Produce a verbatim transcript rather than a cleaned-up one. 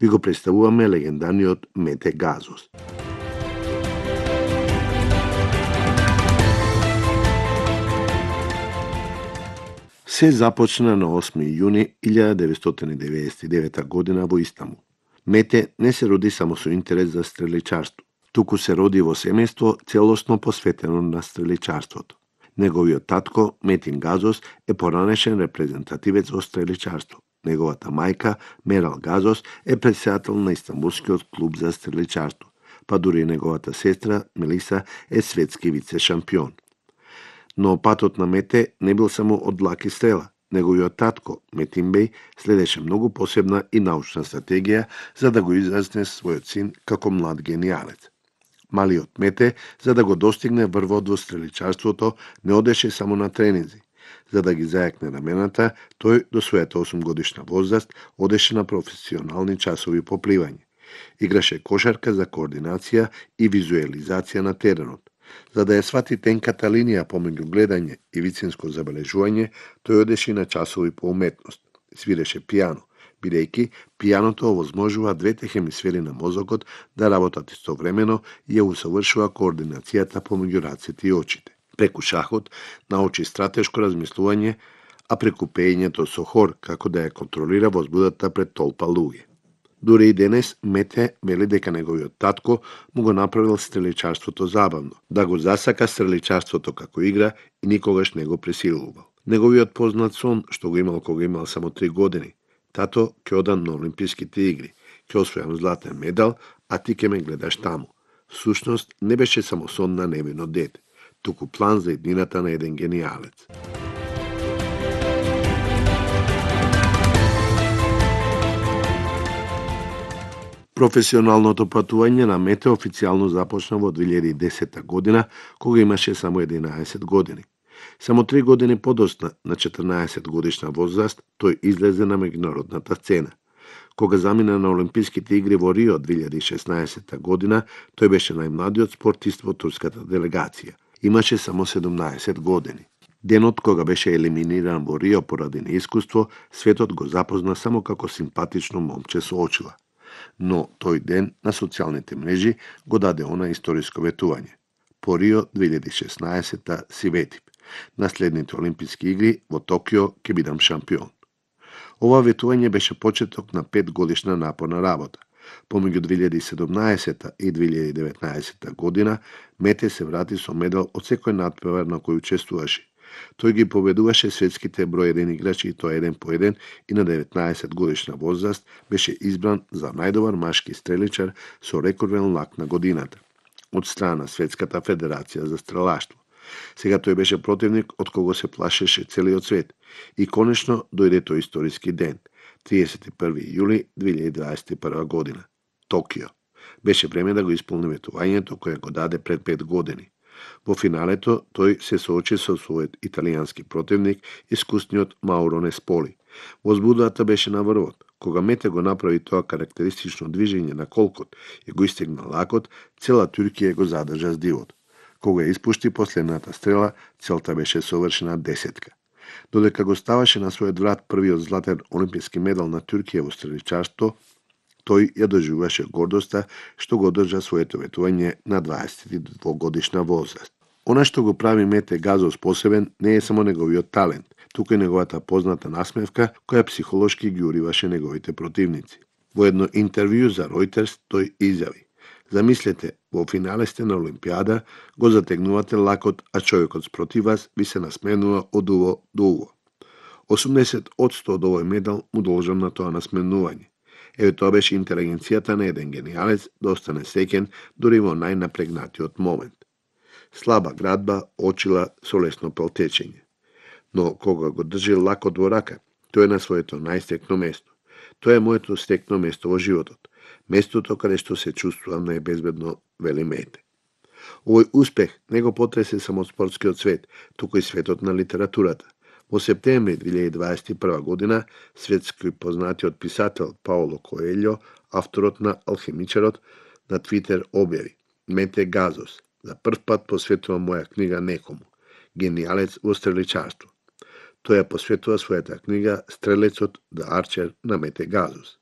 Ви го представуваме легендарниот Мете Газос. Се започна на осми јуни илјада деветстотини деветдесет и девета година во Истанбул. Мете не се роди само со интерес за стреличарство, туку се роди во семејство целосно посветено на стреличарството. Неговиот татко, Метин Газос, е поранешен репрезентативец во стреличарство. Неговата мајка, Мерал Газос, е претседател на Истанбулскиот клуб за стреличарство, па дури неговата сестра, Мелиса, е светски вице-шампион. Но патот на Мете не бил само од лаки стрела. Неговиот татко, Метин Беј, следеше многу посебна и научна стратегија за да го израсне својот син како млад генијалец. Малиот Мете, за да го достигне врвот во стреличарството, не одеше само на тренинзи. За да ги зајакне рамената, тој до својата осумгодишна возраст одеше на професионални часови по пливање. Играше кошарка за координација и визуелизација на теренот. За да ја свати тенката линија помеѓу гледање и вицинско забележување, тој одеше на часови по уметност. Свиреше пијано, бидејќи пијаното овозможува двете хемисфери на мозокот да работат истовремено и ја усовршува координацијата помеѓу рацете и очите. Преку шахот научи стратешко размислување, а преку пеењето со хор како да ја контролира возбудата пред толпа луѓе. Дури и денес Мете вели дека неговиот татко му го направил стреличарството забавно, да го засака стреличарството како игра и никогаш не го пресилувал. Неговиот познат сон, што го имал кога имал само три години: тато, ќе одам на Олимписките игри, ќе освојам златен медал, а ти ќе ме гледаш таму. Всушност не беше само сон на невино дете, туку план за иднината на еден генијалец. Професионалното патување на Мете официјално започна во две илјади и десета година, кога имаше само единаесет години. Само три години подоцна, на четрнаесет годишна возраст, тој излезе на меѓународната сцена. Кога замина на Олимписките игри во Рио две илјади и шеснаесета година, тој беше најмладиот спортист во турската делегација. Имаше само седумнаесет години. Денот кога беше елиминиран во Рио поради неискуство, светот го запозна само како симпатично момче со очила. Но тој ден на социјалните мрежи го даде она историско ветување: по Рио две илјади и шеснаесета си ветив. На следните Олимписки игри во Токио ќе бидам шампион. Ова ветување беше почеток на пет годишна напорна работа. Помеѓу две илјади и седумнаесета и две илјади и деветнаесета година Мете се врати со медал од секој надпревар на кој учествуваше. Тој ги победуваше светските број еден играчи и тоа еден по еден и на деветнаесет годишна возраст беше избран за најдобар машки стреличар со рекорден лак на годината од страна на Светската федерација за стрелаштво. Сега тој беше противник од кого се плашеше целиот свет и конечно дојде тој историски ден, триесет и први јули две илјади дваесет и прва година. Токио. Беше време да го исполни ветувањето кое го даде пред пет години. Во финалето тој се соочи со својот италијански противник, искусниот Мауро Несполи. Возбудата беше на врвот. Кога Мете го направи тоа карактеристично движење на колкот и го истегна лакот, цела Туркија го задржа здивот. Кога ја испушти последната стрела, целта беше совршена десетка. Додека го ставаше на својот врат првиот златен олимписки медал на Туркија во стреличарство, тој ја доживуваше гордоста што го одржа своето ветување на дваесет и двогодишна возраст. Она што го прави Мете Газос посебен не е само неговиот талент, туку и неговата позната насмевка која психолошки ги уриваше неговите противници. Во едно интервју за Reuters тој изјави: замислете, во финале сте на Олимпијада, го затегнувате лакот, а човекот спротив вас ви се насменува од уво до уво. осумдесет одсто од овој медал му должам на тоа насменување. Еве тоа беше интелигенцијата на еден генијалец да остане сеќен дури во најнапрегнатиот момент. Слаба градба, очила со лесно пелтечење. Но кога го држи лакот во рака, тој е на своето најстекно место. Тоа е моето стекно место во животот. Местото каде што се чувствувам најбезбедно, вели Мете. Овој успех не го потресе само спортскиот свет, туку и светот на литературата. Во септември две илјади дваесет и прва година, светски познатиот писател Паоло Коелјо, авторот на Алхимичарот, на Твитер објави: Мете Газос, за прв пат посветувам моја книга некому, генијалец во стреличарство. Тој ја посветува својата книга Стрелецот, The Archer, на Мете Газос.